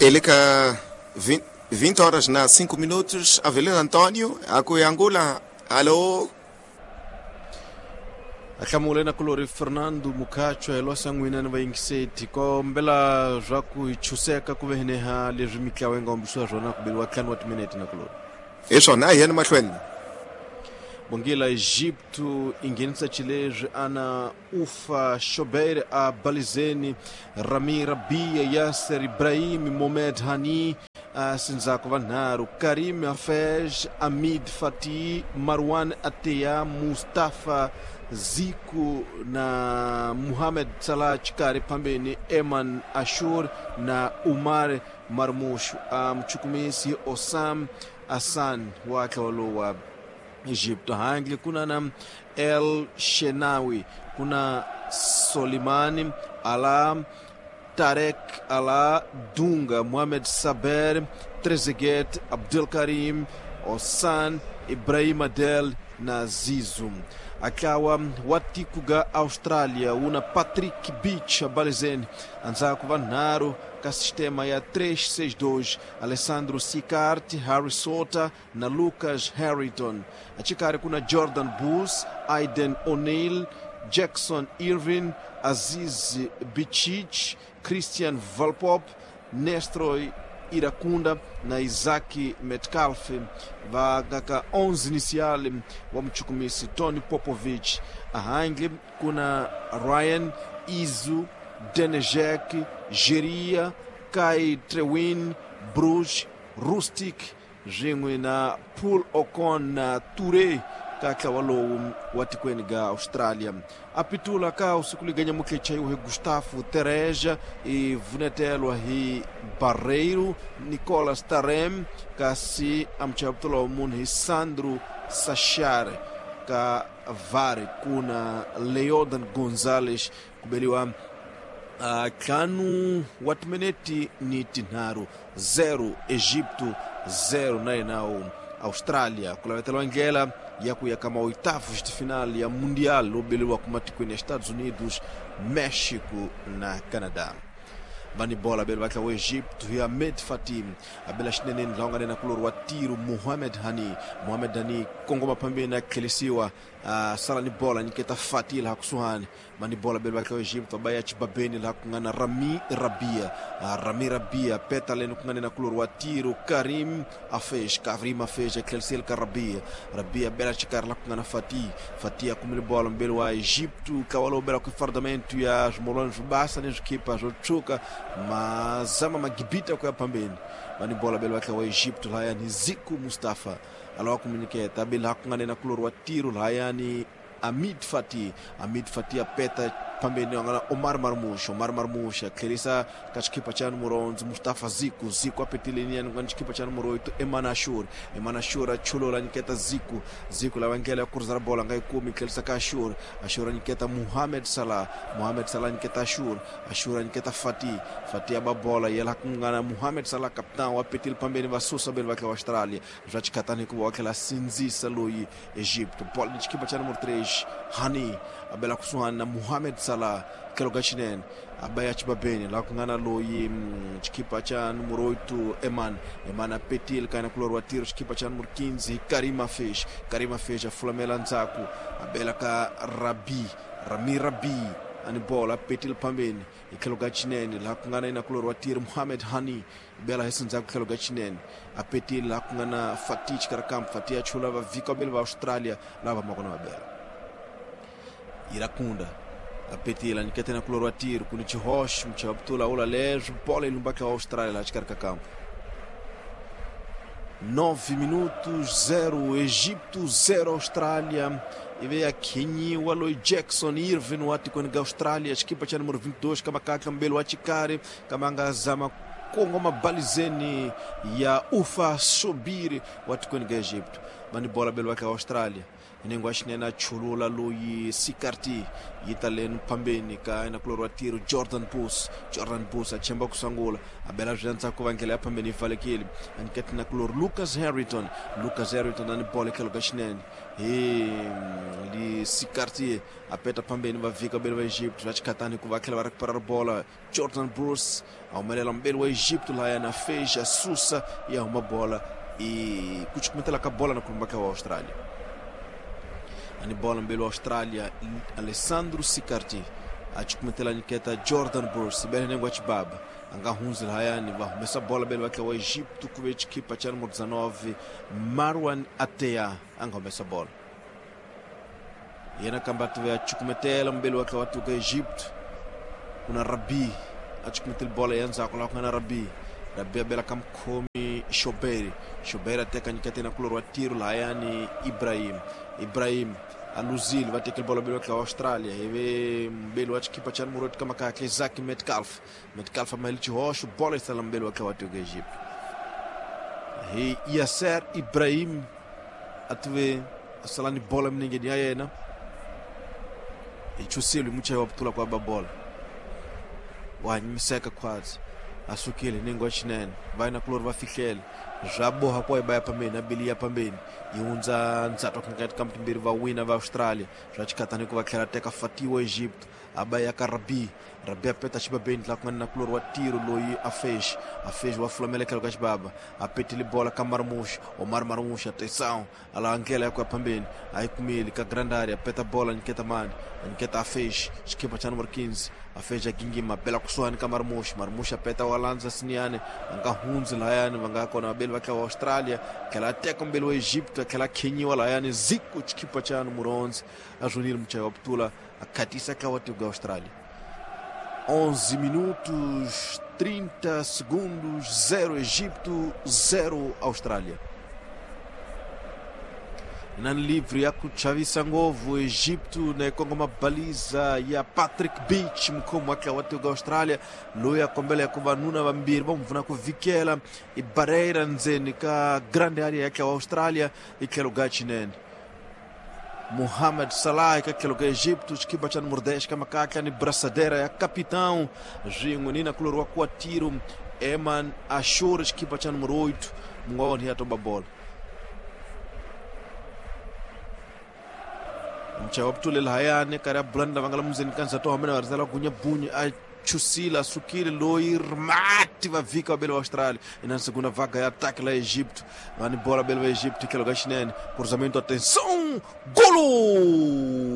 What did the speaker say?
Eleka 20 horas na 5 minutos, Avelino Antonio, akuyangula. Alô? Ahlamule na kulori Fernando Mukachwa hi lwasan'wina ni vayingiseti kombela swa ku hi chuseka ku veheneha leswi mitlawa yi nga hombisiwa swona ku beliwa 5 wa timinete na kulori. Hi swona, a hi yeni mahlweni. Bongila Egipto i nghenisa xileswi ana Ufa Shobeir a Balizeni, Rami Rabia, Yasser Ibrahim, Mohamed Hani a sindzako vanharhu, Karim Hafez, Amid Fatih, Marwan Ateya, Mustafa Ziku na Mohamed Salah xikarhi phambeni, Eman Ashur na Umar Marmush. A muchukumisi Osam Hassan wa ntlawa lowu wa Egipto. Handle kuna na El Shenawi, kuna Solimani Ala, Tarek Ala, Dunga, Mohamed Saber, Trezeguet, Abdel Karim, Ossan, Ibrahim Adel na Zizu. Akawa wa tiko ga Austrália una Patrick Beach abalizeni andzhaku vanharhu ka sistema ya 3-6-2, Alessandro Sicart, Harry Sota na Lucas Harrington. Achikarhi kuna Jordan Bus, Aiden O'Neill, Jackson Irvin, Aziz Bichich, Christian Valpop, Nestroy Irakunda na Isaac Metcalfe. Va ka 11 inicial wa muchukumisi Tony Popovich. Ahangle kuna Ryan Izu, Denejek, Geria, Kai Trewin, Bruges, Rustic swin'we na Paul Ocon na Toure ka ntlawa lowu wa tikweni ga Australia. A pitula ka usiku liganya mukhecha iwe Gustavo Tereja i vunetelwa hi Barreiro, Nicolas Tarem, kasi amchaputula wa munhu hi Sandro Sachar. Ka VAR kuna Leodan Gonzalez kubeliwa ntlhanu wa timinete ni tinharhu, 0 Egipto 0 na yena Austrália. Ku laveteliwa ndlela ya ku ya ka maoitavos de final ya Mundial lowu beleriwaka matikweni ya Estados Unidos, México na Canadá. Vani bola bele va tlawa Egipto hi Ahmed Fatim, a bela xineneni laha nga na kulori wa tiro Mohamed Hani. Mohamed Hani kongoma phambeni a tlhelisiwa, a sala ni bola nyiketa Fatih laha kusuhani. Vani bola bele va tlawa Egipto va ya chibabeni laha ku nga na Rami Rabia. Rami Rabia peta leni ku nga na kulori wa tiro Karim Afej. Karim Afej a tlheliseli ka Rabia. Rabia bela xikarhi laha ku nga na Fatih. Fatih a kumile bola mbele wa Egipto ntlawa lowu belaka fardamento ya swimolwana swo basa ni swikhipa swo tshuka mazama magibita ku ya phambeni. Vani bola bele va tlawa Egipto lahayani Ziku Mustafa alawa ku minyiketa bele laha ku nga na kulori wa tiro lahayani Amid Fatih. Amid Fatih a peta phambeni nga na Omar Marmush. Omar Marmush a tlherisa ka xikhipa xa numero 11 Mustafa Ziku. Ziku a petile niyani ku nga ni xikhipa xa numero 8 Eman Ashur. Eman Ashur a chulula nyiketa Ziku. Ziku lava ndlela ya kurisa ra bola nga yi kumi, tlherisa ka Ashur. Ashur a nyiketa Mohamed Salah. Mohamed Salah nyiketa Ashur. Ashur a nyiketa Fatih. Fatih a ba bola yela ku nga na Mohamed Salah capitão a petile phambeni va susa bele va tlawa Australia. Swa xikhatani hikuva wa tlhela sindzisa loyi Egipto. Bola ni xikhipa xa numero 3 Hani a bela kusuhani na Mohamed Salah tlhelo ka xinene a ba ya chibabeni laha ku nga na loyi xikhipa xa numero 8 Eman. Eman a petile ka yena kulori wa tiro xikhipa xa numero 15 hi Karim Afej. Karim Afej a fulamela ndzhaku a bela ka Rabi. Rami Rabi ani bola a petile phambeni hi tlhelo ka xinene laha ku nga na yena kulori wa tiro Mohamed Hani bela hi sindzhaku tlhelo ka xinene a petile laha ku nga na Fatih xikarhi kambe Fatih a chula va vhika vambirhi va Australia lava va kona va bela. Irakunda a petile nyiketa na kulori wa tiro ku ni xihoxo muchavutula ula leswi bola yi lumbaka wa Australia laha xikarhi ka kampo. 9 minutos, 0 Egipto, 0 Austrália. Ivi ya khenyiwa loyi Jackson Irvin wa tikweni ga Australia, xikhipa xa numero 22 ka mbelo wa xikari kama nga zama kongoma balizeni ya Ufa Sobiri wa tikweni ga Egipto. Vani bola belo wa ka Australia. Nengwa xinene a chulula loyi Sikarti yi ta leni phambeni ka yena kulori wa tiro Jordan Bus. Jordan Bus a chemba ku sungula a bela swi ndzhaku va ndlela ya phambeni yi pfalekile. A nyiketa na kulori Lucas Harrington. Lucas Harrington a ni bolo etlhelo ka xinene hi li Sikarti a peta phambeni va vhika beli va Egypt va xikhatani ku va tlhela va récupérar bola. Jordan Bruce a humelela mbeli wa Egypt lahaya na Feja susa ya huma bola i ku cukumetela ka bola na kulumba ka wa Australia. Ani bola mbeli wa Australia Alessandro Sicardi a cukumetela nyiketa Jordan Bruce bele nengo chibaba anga hunzi lahayani va humesa bola bele va wa Egypt ku ve chikipa cha número 19 Marwan Atea anga humesa bola. Yena kamba tuve a cukumetela mbeli wa wa tuka Egypt kuna Rabi a cukumetela bola ya ndzhaku laha ku nga na Rabi. Rabi a bela ka mukhomi Shoberi. Shoberi a teka nyiketa na kulori wa tiro lahayani Ibrahim. Ibrahim a luzile va tekele bola mbeli wa wa Australia ivi mbeli wa xikipa cha número 8 ka makakle Isaac Metcalf. Metcalf a mahele xihoxo bola yi sala mbeli wa wa tuka Egypt. Hi Yasser Ibrahim a tuve a sala ni bola minengeni ya yena. Hi chusile muchayi wa putula kwa ba bola. Wa nyimiseka khwatsi a sukile nengo wa xinene va na kulori va fihlele swa boha kwa ba ya phambeni a beli ya phambeni yi hundza ndzhato ka ka timbirhi va wina va Australia swa xikhatani ku va tlhela teka Fatiwa Egypt a ba ya ka Rabi. Rabi a peta xibabeni la ku nga na kulori wa tiro loyi a Fesh. A Fesh wa fulamela etlhelo ka xibaba a petile bola ka Marmush. Omar Marmush a tesão a la ndlela ya ku ya phambeni a yi kumile ka grand area peta bola nyiketa mani a nyiketa a Fesh xikipa cha número 15 a Fesh a gingima bela kusuhani ka Marmush. Marmush a peta wa landza Siniane a nga hundzi lahayani va nga kona vabeli va tlawa Australia tlhela a teka mbeli wa Egypt a tlhela a khenyiwa lahayani Zico xikipa cha número 11 a zwonile muchayi wa putula a khatisa tlawa tiko ya Australia. 11 minutos 30 segundos, 0 Egipto, 0 Austrália. Nani livre ya kuchavisa ngovu Egipto na kongoma baliza ya Patrick Beach mukhomi wa tlawa tiko Australia loyi a kombela ya ku vanuna vambirhi va n'wi pfuna ku vikela i barreira ndzeni ka grande area ya tlawa Australia i tlhelo ga xinene. Mohamed Salah ka tlhelo ka Egipto xikipa cha número 10 ka makatla ni braçadeira ya capitão swin'we ni na kulori wa kuatiro Eman Ashur xikipa cha número 8 mun'we wa vona ya toba bola. Muchayi wa putule lahayani karhi a bulani lava nga la mundzeni ka ndzhato wa mina va rizela gunya bunyi a chusile a sukile loyi rimati va vhika vabeli va Australia ina segunda vaga ya ataque la Egipto va ni bola beli va Egipto tlhelo ka xinene cruzamento atenção golo.